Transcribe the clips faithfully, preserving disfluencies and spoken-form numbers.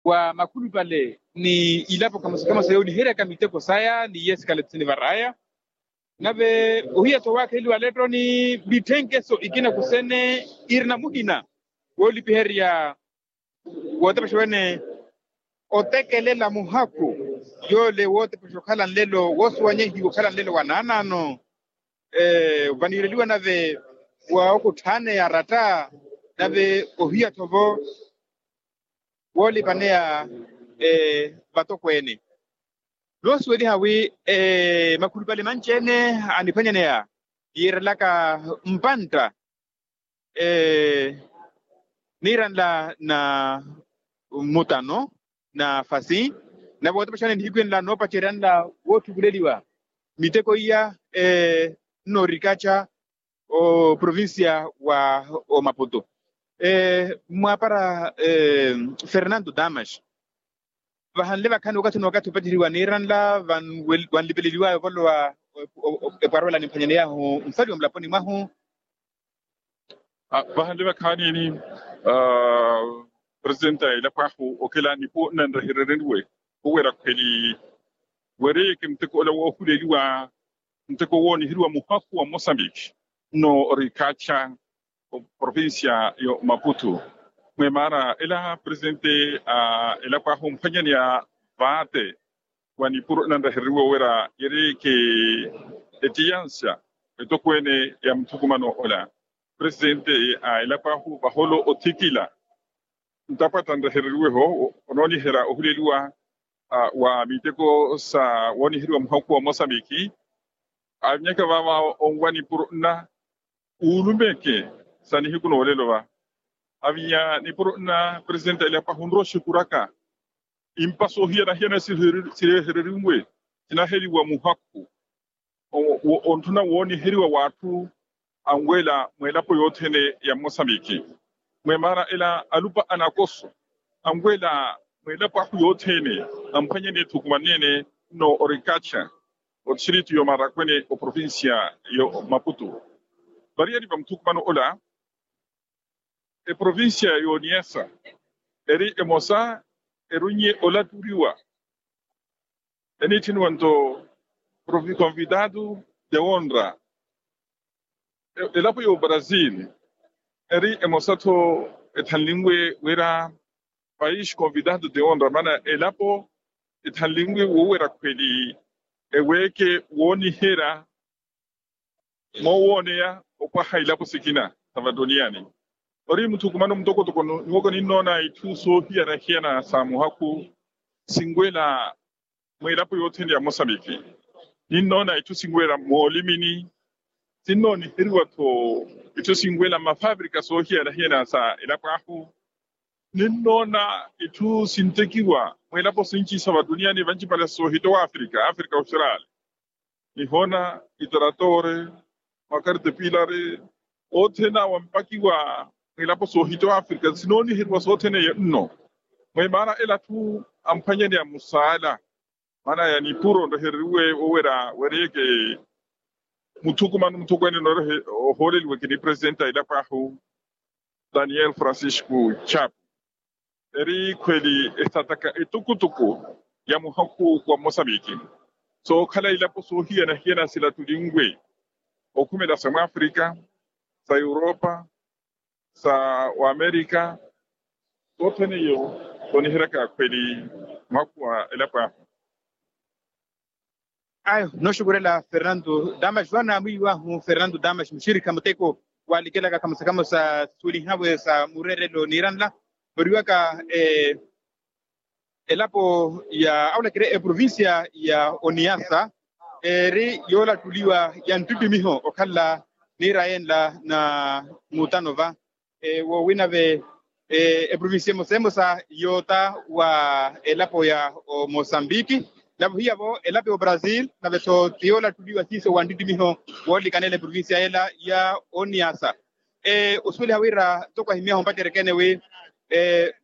wa makhulupale ni ilapo kamosa kamosa yooniheryaka miteko saya ni yesikale thisini varaya. Nave ohiya-tho waakheleliwa letto ni mitthenkeso ikina kusene irina muhina woolipiherya wootepexa wene otekelela muhakhu yoole wootepexa okhala nlelo woosuwanyehiwa okhala nlelo wa naanaano. Vaniireliwa nave wa okutthaneya aratta nave ohiya-tho-vo woolipaneya vatokweene. Noosuweliha wi makhulupale manci-ene aniphwanyaneya yiirelaka mpantta niiranla na mutano na fasi nave wootepexani nihiku enla noopaceryanla woothukuleliwa miteko iya nnoorikacha oprovincia wa omaputo. Mwaapara fernando damas vahanle vakhaani wakathi n'uwakathi opaceriwa niiranla vanlipeleliwayo ovolowa epwarowela nimphwanyaney'ahu nfaliwa mulaponi mwahu. Vahanle vakhaani-ni presidente a elapo ahu okela nipo nanrehereriwe owera khweli weereyeke muteko ola woohuleliwa muteko wooniheriwa muhakhu wa mosambiki nno orikacha oprovincia yo maputu. Mwe maara ela presidente a elapo ahu omphwanyaneya vaate wa nipuro nanrehereriwe owera yeereyeke etiyansa etokweene ya muthukumano ola. Presidente a elapo ahu vaholo othikila ntapwata nrehereriweho onooniherya ohuleliwa wa miteko sa wooniheriwa muhakhu wa mosambiki. Avinyaka vaava onwa nipuro nna uulumeke sa nihiku noolelo va avinya nipuro nna presidente a elapo ahu onrowa oxikuraka impa soohiyana-hiyana sirehereriwe sinaheliwa muhakhu ontthuna wooniheriwa w'atthu anweela mw'elapo yothene ya mosambiki. Mwe maara ela alupa anakoso anweela mw'elapo ahu yothene amphwanyane ethukumanene nno orikacha otistrito y'omarakwene oprovincia yo maputu. Variyari va muthukumano ola eprovincia y'oniyasa eri emosa erunye olaturiwa eniitthiniwa nto convidado de honra. Elapo y'obrasil eri emosa-tho ethanlinwe wira país convidado de honra maana elapo ethanlinwe woowera khweli eweeke wooniherya moowooneya opwaha ilapo sikina sa vatoniyani. Ori muthukumano mutokotoko nyuwaka ninnoona itthu soohiyana-hiyana sa muhakhu sinwela mw'elapo yothene ya mosambiki. Ninnoona itthu sinwela moolimini sinnooniheriwa-tho itthu sinwela mmafavirika soohiyana-hiyana sa elapo ahu. Ninnoona itthu sintekiwa mw'elapo sinci sa vatuniyani vancipale soohitowa afrika afrika austral nihoona itaratore makarte pilare othene awo ampakiwa mw'elapo soohitowa afrika sinooniheriwa sothene eyo nno. Mwe maana ela atthu amphwanyaneya musaala maana ya nipuro nrehereriwe woowera weereyeke muthukumano muthukwene ohooleliweke ni presidente a elapo ahu daniel francisco chapo eri khweli esataka etukutuku ya muhakhu wa mosambiki sookhala ilapo soohiyana-hiyana silatulinwe okhumela sa mwafrika sa europa sa wamerika sothene iyo sooniheryaka khweli muhakhu wa elapo ahu. Ayo nooxukurela fernando damas vano amwiiwahu fernando damas muxirikha muteko waalikelaka khamosa khamosa sisuwelihawe sa mureerelo niiranla moriwaka elapo ya awulakire eprovincia ya oniasa eri yoolattuliwa ya nttittimiho okhala niira yenla na mutano va woowina ve eprovincia emosa emosa yoota wa elapo ya omosambiki nave ohiya vo elapo ya obrasil nave-tho ti yoolattuliwa siiso wa nttittimiho woolikanela eprovincia yela ya oniasa. Osuweliha wira ntoko ahimyaha ompacerya-ene wi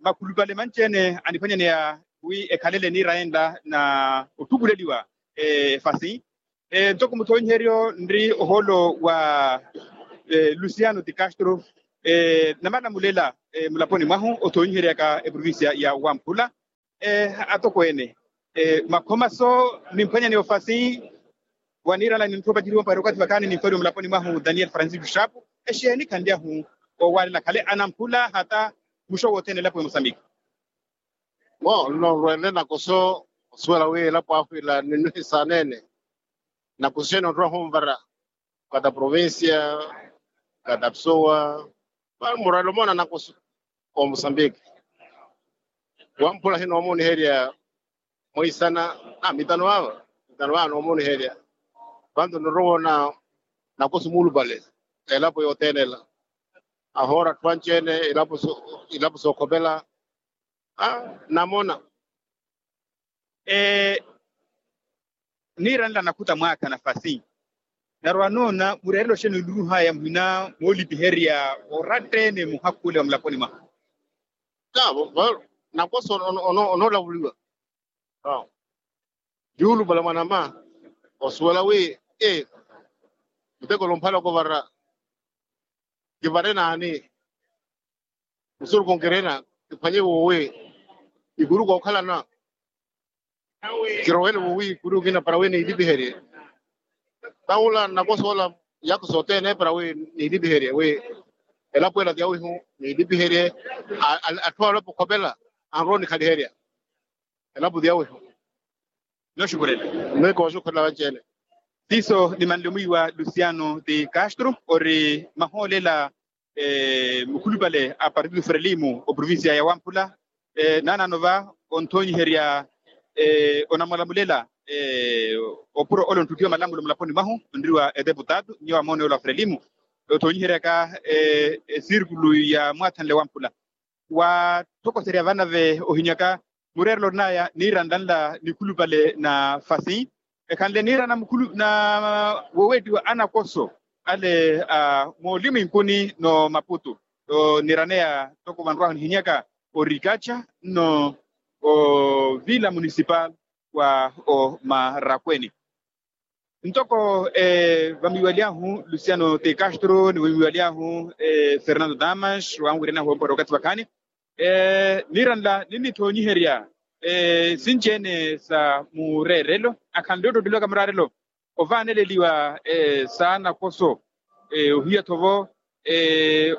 makhulupale manci-ene aniphwanyaneya wi ekhalele niira yenla na otthukuleliwa efasi. Ntoko muthoonyiheryo nri ohoolo wa luciano ti castro namalamulela mulaponi mwahu othoonyiheryaka eprovincia ya wamphula. atokweene, makhomaso nimphwanyani ofasi. Waniirala nintthupaciriwa mpwari okathi vakhaani nimfwaliwa mulaponi mwahu daniel francisco shapu. Exeeni khanlyahu owaalela khale anamphula hata muxo wothene elapo ya mosambiki. Bo nno nrweenle nakoso osuwela wi elapo ahu ila ninnuhisaneene. Nakoso xeeni onrowa hunvara kata provincia kata psowa. Murweenle omoona nakoso o mosambiki. Wamphula xeeni noomooniherya mwiisana mitano vava mitano vava noomooniherya. Vantu nirowona nakoso muulupale elapo yothene ela. Ahoora atthu anci-ene ilapo sookhopela. Namona niiranela nakhuta mwaakha nafasi. Narwa noona mureerelo xeeni oniruhaya muhina moolipiherya oratta-ene muhakhu ole wa mulaponi mwahu. Taavo nakoso onoolavuliwa. Yuulupala mwanama osuwela wi muteko lomphale okovara. Kivare naani? Musuruku nkirina kiphwanye woowi ikuru kookhalana. Kirowele woowi ikuru kina para wi niilipiherye. Taula nakoso ola yakho sothene para wi niilipiherye wi elapo ela tyawihu niilipiherye. Atthu alapo okhopela anrowa onikhaliherya. Elapo tyawihu. Noxukhurela. Mekooxukhurela vanci-ene. Siiso nimanle omwiiwa luciano de castro ori mahoolela mukhulupale a partido frelimo oprovincia ya wamphula. Naanaano va onthoonyiherya onamulamulela opuro ole onttuttiwa malamulo mulaponi mwahu onriwa edeputado nyuwo amoona yoola wa frelimo. Othoonyiheryaka esirkulu ya mwaathanle wamphula waathokoserya vanave ohinyaka mureerelo orinaya niiranla nla nikhulupale na fasi. Ekhanle niirana mukhulu na woweettiwa anakoso ale a moolimu inkuni no maputu. Niraneya ntoko vanrwahu nihinyaka orikaca nno ovila municipal wa omarakweni. Ntoko vamiiwaly'ahu luciano de castro ni vamiiwaly'ahu fernando damas wanwiryan'ahu ompora okathi vakhaani. Niiranla ninnithoonyiherya sinci-ene sa mureerelo akhanle ottotteliwaka muraarelo ovaaneleliwa saana koso ohiya-tho vo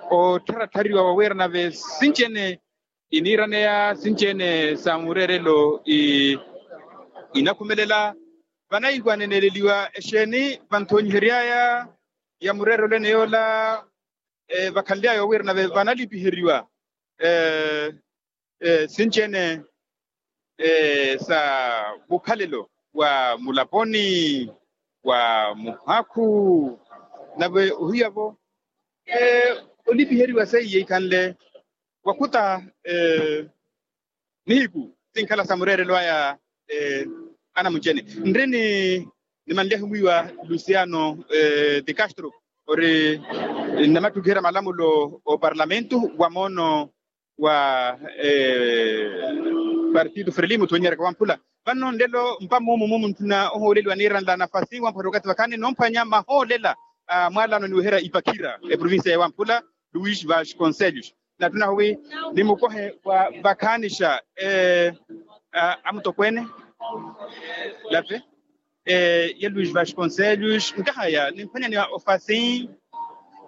ottharatthariwa wawiira nave sinci-ene iniiraneya sinci-ene sa mureerelo inakhumelela. Vanahiku aneneleliwa exeeni vanthoonyihery'aya ya mureerelo ene yoola vakhanly'aya owiira nave vanalipiheriwa sinci-ene sa mukhalelo wa mulaponi wa muhakhu nave ohiya-vo olipiheriwa seiye ikhanle wakhuta nihiku sinkhala sa mureerelo aya. Anamunci-ene nri ni nimanlyahu mwiiwa luciano de castro ori nnamattukiherya malamulo oparlamentu wa moono wa partido frelimo othoonyiheryaka wamphula. Vanno nlelo mpa muumu mumu ntthuna ohooleliwa niiranla nafasi wamphwanya okathi vakhaani nomphwanya mahoolela a mwaalano niweherya ipakhira eprovincia ya wamphula luis vasconcellos. Nattunahu wi nimukohe wa vakhaanixa amutokweene lape ya luis vasconcellos nkahaya nimphwanyani ofasi.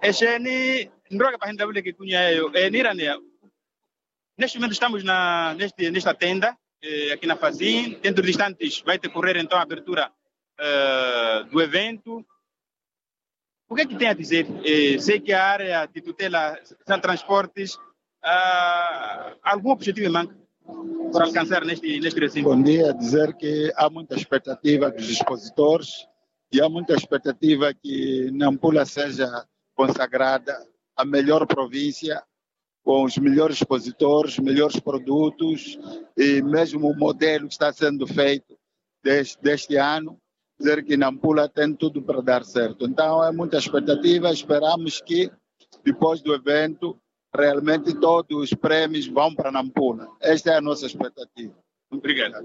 Exeeni nrowaka pahi nlavuleke ikunya yeeyo niiraneya neste momento estamos na neste nesta tenda aqui na fasi dentro de instantes vai decorrer então a abertura do evento. O que é que tem a dizer sei que a área de tutela são transportes algum objetivo em manca para alcançar neste neste recinto? Bom dia, dizer que há muita expectativa dos expositores e há muita expectativa que Nampula seja consagrada a melhor província com os melhores expositores, melhores produtos e mesmo o modelo que está sendo feito deste ano, dizer que Nampula tem tudo para dar certo. Então é muita expectativa, esperamos que depois do evento realmente todos os prémios vão para Nampula. Esta é a nossa expectativa. Obrigado.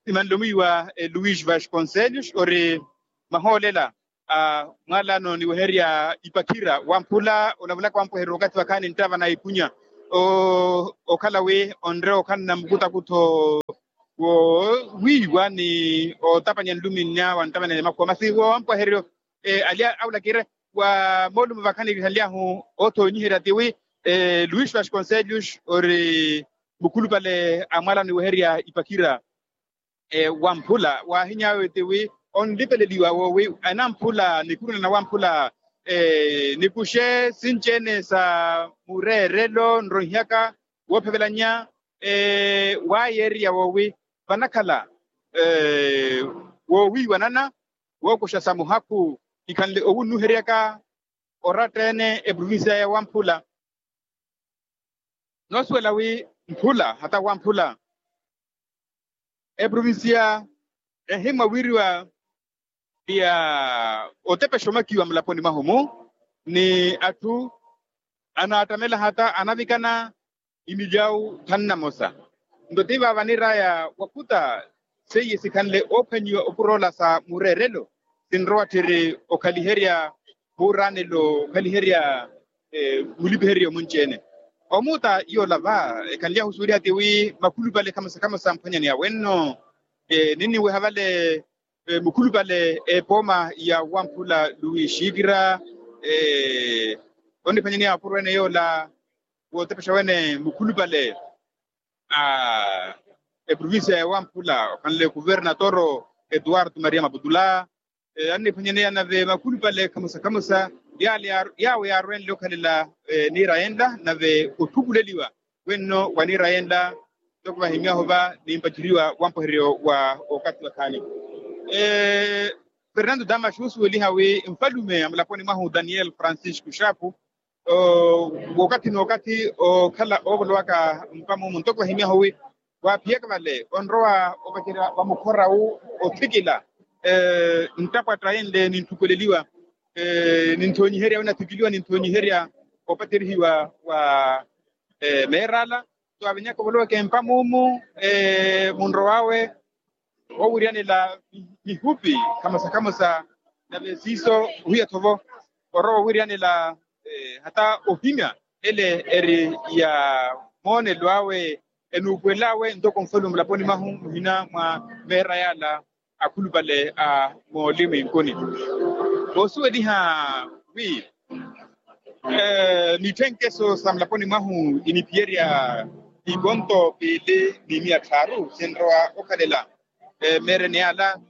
Imanle omwiiwa luis vasconcellos ori mahoolela a mwaalano niweherya ipakhira wamphula olavulaka wampohererya okathi vakhaani nttava na ikunya okhala wi onre okhala na mukutakutho Wo wiiwa ni otapanya nluminnya wa ntapanya ni makhuwa masi wo ampwaheryo. Alya awulakire wa moolumo vakhanikihaliyahu othoonyiherya tiwi luis vasconcellos ori mukhulupale a mwalano iweherya ipakira. Wamphula waahiny'awe tiwi onlipeleliwa woowi anamphula nikhuruna na wamphula nikuxe sinci-ene sa mureerelo nroihiyaka woophevelanya waayeeriya woowi vanakhala woowiiwanana wookuxa sa muhakhu ikhanle owunnuheryaka oratta-ene eprovincia ya wamphula. Noosuwela wi mphula hata wamphula eprovincia ehimmwa wiiriwa ya otepexa omakiwa mulaponi mwahu-mu ni atthu anaattamela hata anavikana imilyawu thanu namosa. Nto ti vaava niiraya wakhuta seiye sikhanle oophwanyiwa opuroola sa mureerelo sinrowa tthiri okhaliherya vuuraanelo okhaliherya mulipiheryo munci-ene. Omuuta yoola va ekhanly'ahu osuweliha tiwi makhulupale khamosa khamosa mphwanyaneya wenno ninniweha vale mukhulupale epooma ya wamphula luwi xiikira oniphwanyaneya opuro ene yoola wootepexa wene mukhulupale a eprovincia ya wamphula okhanle kuvernatoro eduardo maria maputula anniphwanyaneya nave makhulupale khamosa khamosa yaawo yaarwenle okhalela niira yenla nave otthukuleliwa wenno wa niira yenla. Ntoko vahimyahu va nimpaceriwa wampweheryo wa okathi wakhaani fernando damas osuweliha wi nfalume a mulaponi mwahu daniel francisco xapu wookathi n'okathi okhala oovolowaka mpamumu ntoko vahimyahu wi waaphiyaka vale onrowa opacerya wa mukhora wu othikila nttapwatta yenle ninthukuleliwa ninthoonyiherya wi nathikiliwa ninthoonyiherya opaterihiwa wa meerala. Twavinyaka ovoloweke mpamumu munrow'awe owiryanela mihupi khamosa khamosa nave siiso ohiya-tho vo orowa owiryanela hata ohimya ele eri ya moonelo awe enuupuwel'awe ntoko nfalume mulaponi mwahu muhina mwa meera yaala akhulupale a moolimu inkuni. Voosuweliha wi mitthenkheso sa mulaponi mwahu iniphiyerya ikonto piili ni miya tthaaru sinrowa okhalela mmeereni ala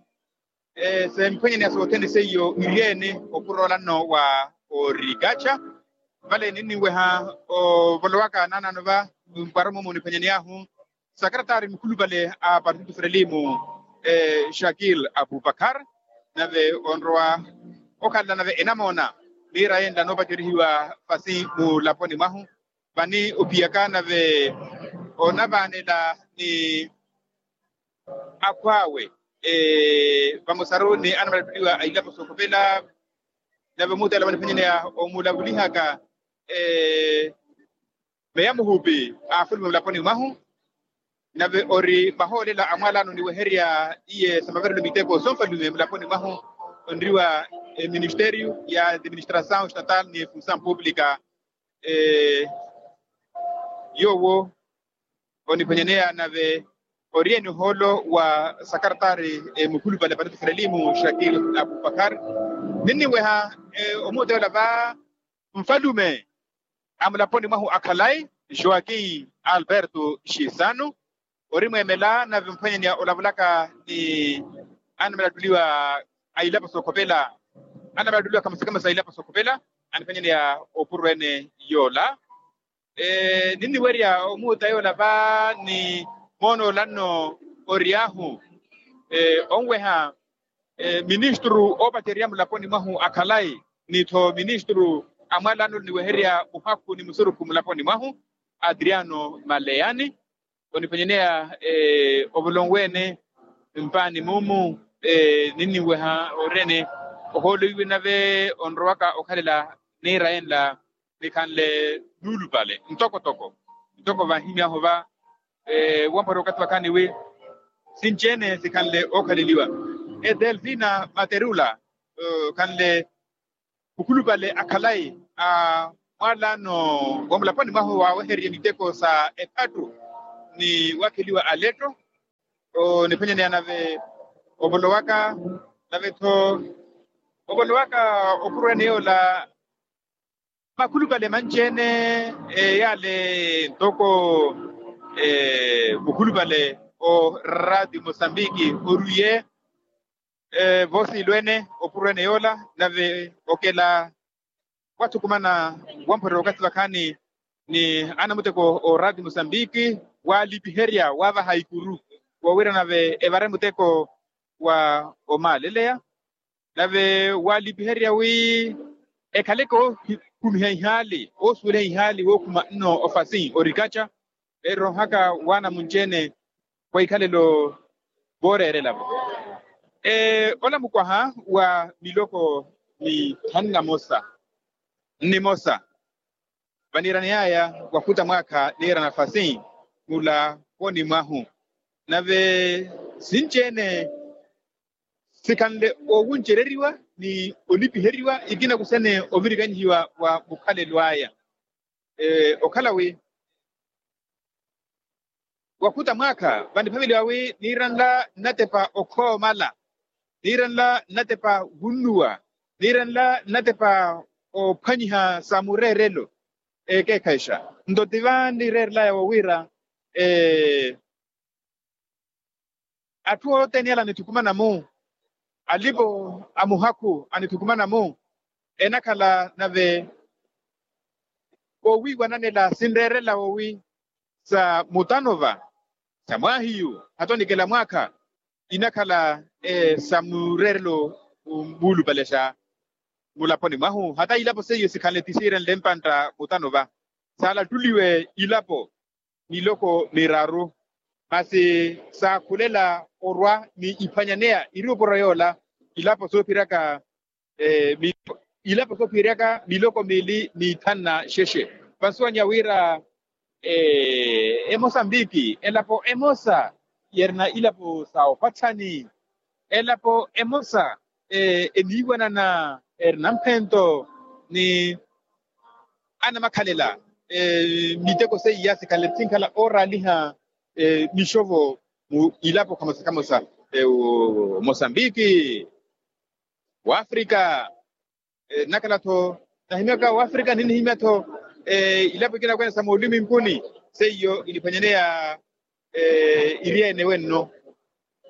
semphwenyeneya sothene seiyo iriyeene opuro olanno wa orikacha vale ninniweha ovolowaka naanaano va mpwaro mumu oniphwanyaney'ahu sakaratari mukhulupale a partido frelimu shakil abubakar nave onrowa okhalela nave enamoona niira yenla noopacerihiwa fasi mulaponi mwahu vani ophiyaka nave onavaanela ni akhw'awe vamosaru ni anamalatteliwa a ilapo sookhopela nave omuutela vaniphwanyaneya omulavulihaka meya muhupi a afulume mulaponi mwahu nave ori mahoolela a mwalano niweherya iye sa maverelo miteko sonfalume mulaponi mwahu onriwa eministerio ya administrasaw estatal ni funsaw publica yoowo oniphwanyaneya nave oriyeni ohoolo wa sakaratari mukhulupale a partido frelimu shakil abubakar ninniweha omuuta yoola va nfalume a mulaponi mwahu a khalayi joaquim alberto xisano ori mweemela nave mphwanyaneya olavulaka ni anamalatteliwa a ilapo sookhopela anamalatteliwa khamosa khamosa a ilapo sookhopela aniphwanyaneya opuro ene yoola ninniwerya omuuta yoola va ni moona olanno oriy'ahu onweha ministru oopacerya mulaponi mwahu a khalayi ni-tho ministru a mwalano niweherya muhakhu ni musurukhu mulaponi mwahu adriano maleyani oniphwanyaneya ovolonwe ene mpaani mumu ninniweha orene ohoolo iwe nave onrowaka okhalela niira yenla nikhanle nuulupale ntokotoko ntoko vahimyahu va wampwari okathi wakhaani wi sinci-ene sikhanle ookhaleliwa edelfina materula khanle mukhulupale a khalayi a mwalano wa mulaponi mwahu waawehererye miteko sa ephattu ni wakheliwa aletto Oniphwanyaneya nave ovolowaka nave-tho ovolowaka opurwene yoola makhulupale manci-ene yale ntoko mukhulupale o radio mosambiki orwiye voosiilwene opurwene yoola nave okela wathukumana wamphorerya wakathi vakhaani ni anamuteko o radio mosambiki waalipiherya waavaha ikuru woowira nave evare muteko wa omaaleleya nave waalipiherya wi ekhale kookhumiha ihaali oosuweliha ihaali wookhuma nno ofasi orikaca eroohaka waana munci-ene wa ikhalelo vooreerela-vo ola mukwaha wa miloko mithanu na mosa nnimosa vaniiraneyaya wakhuta mwaakha niira nafasi mulaponi mwahu nave sinci-ene sikhanle owuncereriwa ni olipiheriwa ikina kusene ovirikanyihiwa wa mukhalelo aya okhala wi wakhuta mwaakha vaniphaveliwa wi niiranla nnatepa okhoomala niiranla nnatepa wunnuwa niiranla nnatepa ophwanyiha sa mureerelo ekeekhayixa nto ti vanireerelaya wowiira atthu othene yala anithukumana-mu alipo a muhakhu anithukumana-mu enakhala nave owiiwananela sinreerela wowi sa mutano va sa mwaahiyu hatho nikela mwaakha inakhala sa mureerelo muulupalexa mulaponi mwahu hata ilapo seiyo sikhanle ti siirenle mpantta mutano va saalattuliwe ilapo miloko miraru masi saakhulela orwa ni iphwanyaneya iri opuro yoola ilapo soophiryaka ilapo soophiryaka miloko miili ni ithanu na xexe vansuwanya wira emosambiki elapo emosa yerina ilapo sa opatthani elapo emosa eniiwanana erina mphento ni anamakhalela miteko seiya sikhanle sinkhala ooraaliha mixovo mu ilapo khamosa khamosa mosambiki wafrika nnakhala-tho nahimyaka wafrika ninihimya-tho ilapo ikina kwene sa mooliminkuni seiyo iniphwanyaneya iri ene wenno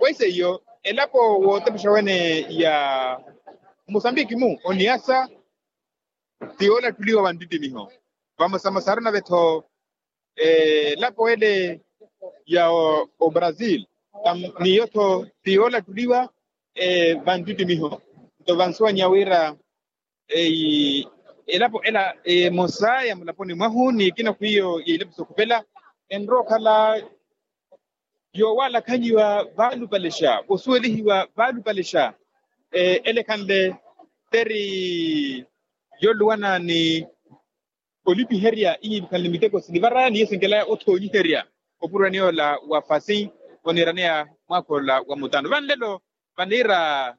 waiseyo elapo wootepexa wene ya mosambiki-mu oniyasa ti yoolattuliwa wa nttittimiho vamosamosaru nave-tho elapo ele ya obrasil niyo-tho ti yoolattuliwa va nttittimiho nto vansuwanya wira elapo ela emosa ya mulaponi mwahu ni ikina khwiyo ya ilapo sokhupela enrowa okhala yoowalakhanyiwa vaalupalexa osuwelihiwa vaalupalexa elekhanle teri yoluwana ni olipiherya ihiipikhanle miteko sinivaraya ni yesinkelaya othoonyiherya opurwani yoola wa fasi oniiraneya mwaakha ola wa mutano vanlelo vaniira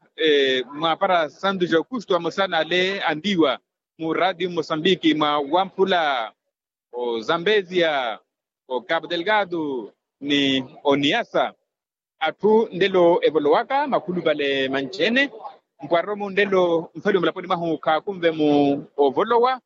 mwaapara santu ja aukusto vamosa n'ale antiiwa mu radio mosambiki mwa wamphula ozambezia ocapo delgado ni oniyasa atthu nlelo evolowaka makhulupale manci-ene mpwar'omu nlelo mfaliwe mulaponi mwahu khaakunve mu ovolowa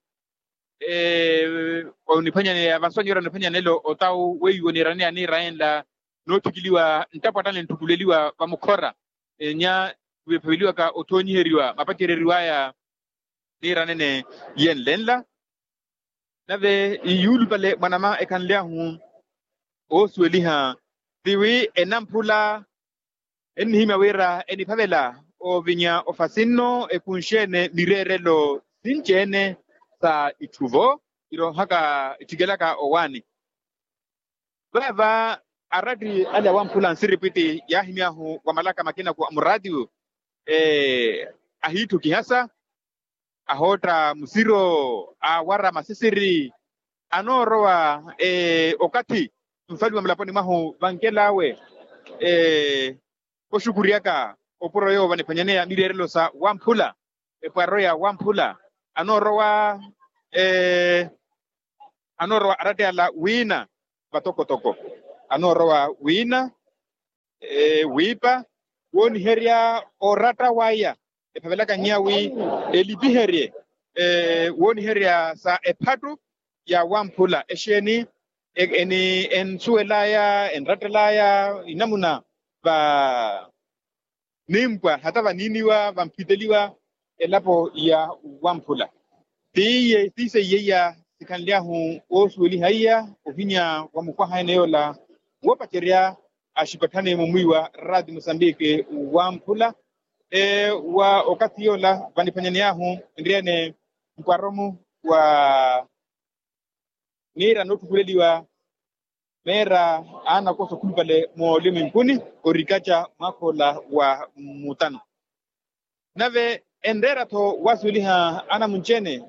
oniphwanyaneya vansuwanyi ora oniphwanyaneya nlelo otawu weiwo niiraneya niirayenla nootthikiliwa nttapo attani ntthupuleliwa vamukhora enya vephaveliwaka othoonyiheriwa mapacereriw'aya niiranene yenle nla nave yuulupale mwanama ekhanly'ahu oosuweliha tiwi enamphula ennihimya wira eniphavela ovinya ofasi nno ekunxe-ene mireerelo sinci-ene sa itthu-vo iroohaka itthikelaka owaani vaava aratti ale awamphula nsiripwitti yaahimy'ahu wa malaka makina ku muraatiyo ahiitthu kihasa ahootta musiro aawara masisiri anoorowa okathi nfaliwa mulaponi mwahu vankel'awe oxukuryaka opuro yoowo vaniphwanyaneya mireerelo sa wamphula epwarro ya wamphula anoorowa anoorowa aratti ala wiina vatokotoko anoorowa wiina wiipa wooniherya oratta waya ephavelaka nnya wi elipiherye wooniherya sa ephattu ya wamphula exeeni ensuwelaya enrattelaya inamuna va nimpwa hata vaniiniwa vamphiteliwa elapo ya wamphula. Tiiye tiiseiye iya sikhanly'ahu woosuweliha iya ohinya wa mukwaha ene yoola woopacerya axipatthani mumwiiwa raati musambiki wamphula wa okathi yoola vaniphwanyaney'ahu nriyene mpwaromu wa niira nootthukuleliwa meera aanakosa okhulupale moolimu inkuni orikaca mwaakha ola wa mutano. Nave enreera-tho wasuweliha anamunci-ene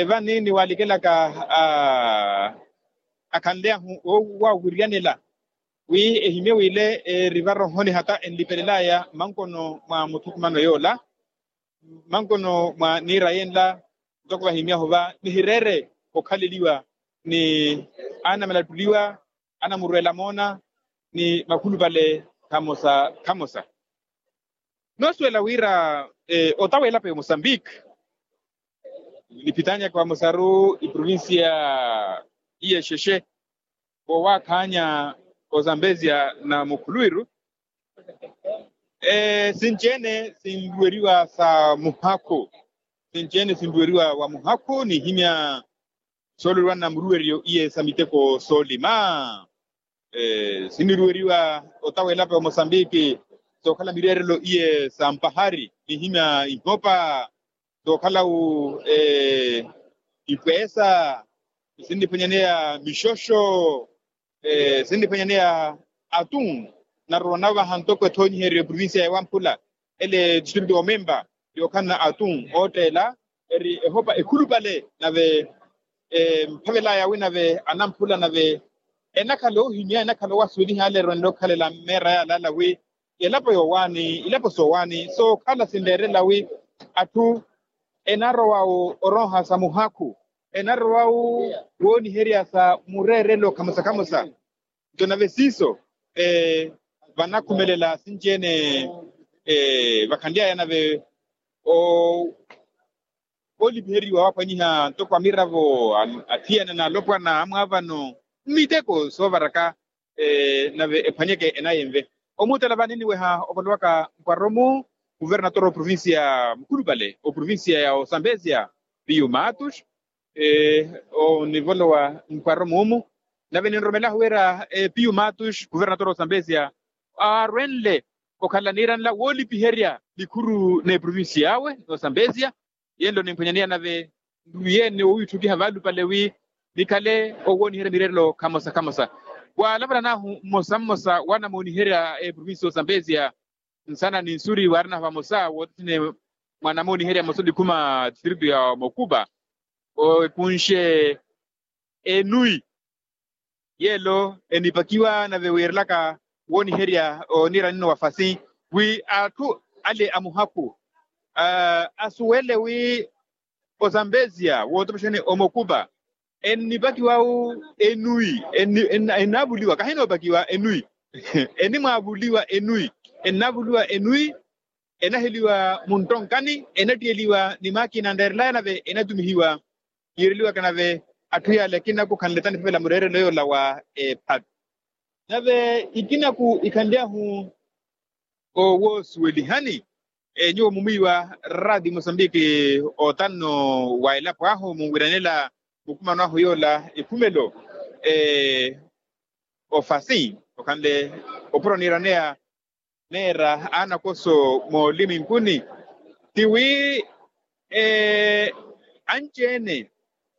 vani niwaalikelaka akhanly'ahu oowawiryanela wi ehimye wile eri varohoni hata enlipelelaya mankono mwa muthukumano yoola mankono mwa niira yenla ntoko vahimyahu va nihireere okhaleliwa ni anamalattuliwa anamurweela moona ni makhulupale khamosa khamosa. Noosuwela wira ota w'elapo ya mosambiki niphitanyaka vamosaru iprovincia iya exexe voowaakhaanya ozambezia na mukhuluwiru sinci-ene sinruweriwa sa muhakhu sinci-ene sinruweriwa wa muhakhu nihimya sooloriwa na muruweriyo iye sa miteko soolima siniruweriwa ota w'elapo ya mosambiki sookhala mireerelo iye sa mpahari nihimya ihopa sookhala-wu ipweesa sinniphwanyaneya mixoxo sinniphwanyaneya atun narorwa navaha ntoko ethoonyiheryo eprovincia ya wamphula ele distrito omemba yookhalana atun ootteela eri ehopa ekhulupale nave emphavelaya wi nave anamphula nave enakhala oohimya enakhala owasuweliha ale erwanela okhalela meera yaalaala wi elapo yoowaani ilapo soowaani sookhala sinreerela wi atthu enarowa orooha sa muhakhu enarowa wooniherya sa mureerelo khamosa khamosa nto nave siiso vanakhumelela sinci-ene vakhanly'aya nave oolipiheriwa waaphwanyiha ntoko amiravo athiyana na alopwana amwaavano mmiteko soovaraka nave ephwanyeke enayi enve omuutela vani niweha ovalowaka mpwaro-mu kuvernatoro oprovincia mukhulupale oprovincia ya osambezia piyu matus onivolowa mpwaro-mu omu nave ninromelahu wira piyu matus kuvernatoro osambezia aarwenle okhala niiranla woolipiherya nikhuru n'eprovincia awe n'osambezia yenlo nimphwanyaneya nave nruwiye ni owiitthukiha valupale wi nikhale owooniherya mireerelo khamosa khamosa waalapalan'ahu mmosa mmosa wanamooniherya eprovincia osambesia nsana ni nsuri waarinahu vamosa wootthine mwanamooniherya mmosa olikhuma distrito ya mokupa epunxe enui yeelo enipakiwa nave wiirelaka wooniherya oniira nino wa fasi wi atthu ale a muhakhu asuwele wi osambezia wootopexani omokupa ennipakiwa-wu enui ennaavuliwa kahinoopakiwa enui ennimwaavuliwa enui ennaavuliwa enui enaheliwa muntonkani enattiyeliwa ni maakina anreerelaya nave enatumihiwa yiireliwaka nave atthu yaale akinaku khanletani phepela mureerelo yoola wa ephatu nave ikinaku ikhanly'ahu owoosuwelihani nyuwo mumwiiwa radi mosambiki otanno wa elapo ahu munwiranela mukumano ahu yoola ekhumelo ofasi okhanle opuro niiraneya neera aanakoso mooliminkuni ti wi anci-ene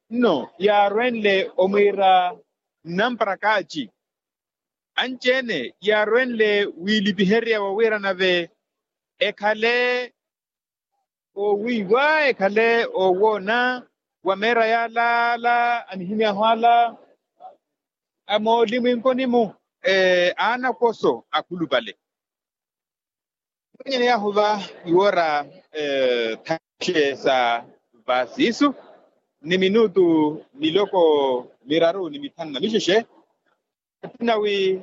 nno yaarwenle omwiira nnamparakaaci anci-ene yaarwenle wiilipiherya wa wira nave ekhale owiiwa ekhale owoona wa meera yaalaala anihimy'ahu ala a moolimwinkoni-mu aanakoso akhulupale mwenyeneyahu va iwoora thaxe sa vasiisu ni minutu miloko miraru ni mithanu na mixexe atthuna wi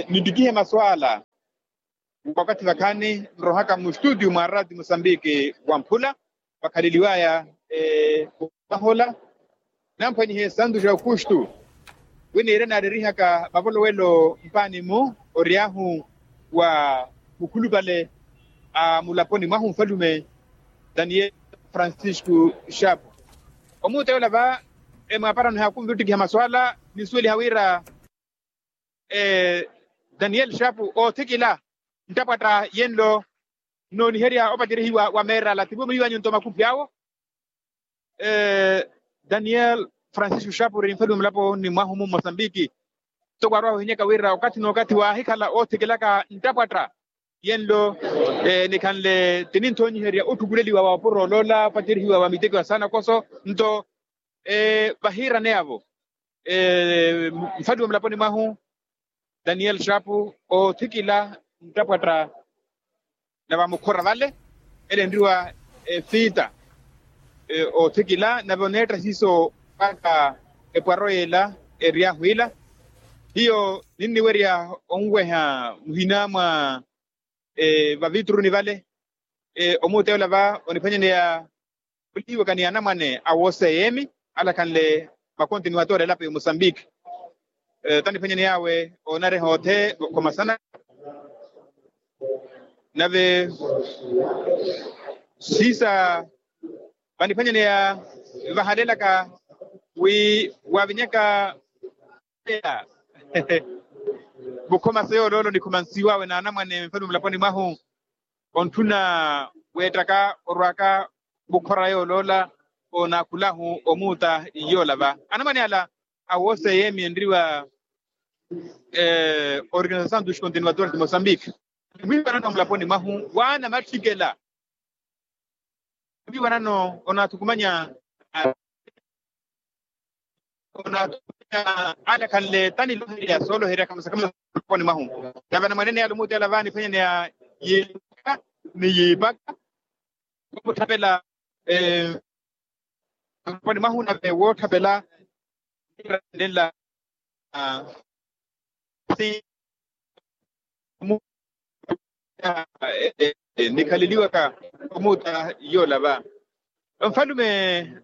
nittikihe masu ala wakathi vakhaani nrohaka mustutio mwa rati musambiki wamphula vakhaleliwaya. Mahola namphwanyihe santu ja aukustu winiire naaririhaka mavolowelo mpaani-mu oryahu wa mukhulupale a mulaponi mwahu nfalume daniel francisco shapu. Omuuta yoola va emwaaparano ehaakunvi ottikiha maswala ninsuweliha wira daniel shapu oothikila nttapwatta yenlo nnooniherya opaterihiwa wa meerala tivo muliwanyu nto makupi awo. Daniel francisco shapu ori nfalume mulaponi mwahu mu mosambiki ntoko arwaha ohinyaka wira okathi n'okathi waahikhala oothikilaka nttapwatta yenlo nikhanle tininthonyiherya otthukuleliwa wa opuro oloola opaterihiwa wa miteko ya saana koso nto vahiiraneyavo nfaliwa mulaponi mwahu daniel shapu oothikila nttapwatta na vamukhora vale ele enriwa efita oothikila nave oneetta siiso mpakha epwaro yeela eryahu ila hiyo ninniwerya onweha muhina mwa vavitruni vale omuuta yoola va oniphwanyaneya olihiwaka ni anamwane a woseyemi alakhanle makontinuwatori elapo ya mosambiki taniphwanyaney'awe oonareha othe okhomasana nave siisa vaniphwanyaneya vahalelaka wi wavinyaka mukhomase yooloolo nikhomansiw'awe n'anamwane nfalume mulaponi mwahu ontthuna weettaka orwaka mukhora yooloola onaakhulahu omuuta yoola va anamwane ala a woseyemi enriwa organizasaw dos continuadores de mosambike mwiipanano mulaponi mwahu waana matthikela mwiipanano onaathukumanya onaathukumanya alekhanle taniloherya sooloherya khamasakhamasa mulaponi mwahu nave anamwanene yala omuuta yala va niphwanyaneya yiipaka ni yiipaka wootthapela mulaponi mwahu nave wootthapela nirannela si nikhaleliwaka omuuta yoola va nfalume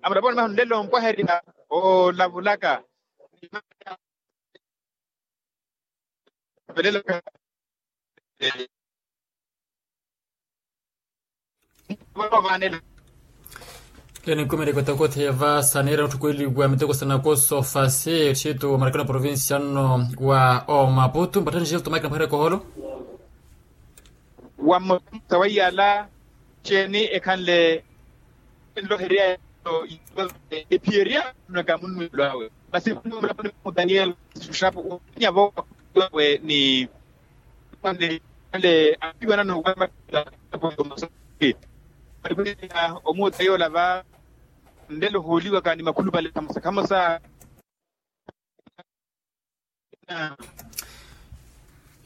a mulaponi mwahu nlelo mpwaherya oolavulaka Kene nkumerya kotokothe va saneera otthukweliwa miteko sanakoso fasi etthito wa marakano provincia nno wa omaputu mpatthani jilto mike na mphwere koholo wa mmosa wa iyala ceeni ekhanle enloherya ephiyerya naka munnuwelo awe masi daniel sushapu unyavo awe ni ale apiwanano wa omuuta yoola va nlelo hooliwaka ni makhulupale khamosa khamosa.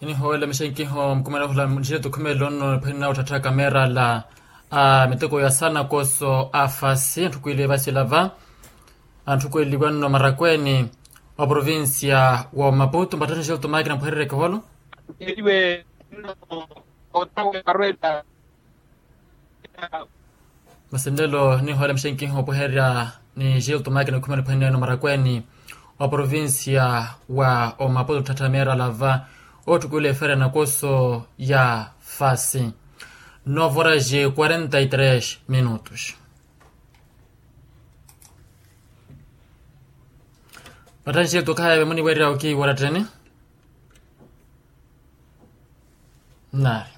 Inihoowela mixenkiho mukumela ohula nixeto khumelo nno niphwene nawe otthattha kamerala a miteko ya sanakoso a fasi antthukweliwe vasila va antthukweliwa nno marakweni oprovincia wa maputu mpatthani xeto mike na mpwehererya ekiholo. Eliwe nno otawe marwela. Masi nlelo nihoole mixenkiho opweherya ni gilto makina okhumela niphwene eno marakweni oprovincia wa omaputo otthattha meerala va otthukweliwa efeera ya nakoso ya fasi. Novo horas e quarenta e três minutos. Pathanxi etukhaya vemuniwerya okiiwaratteni. Nari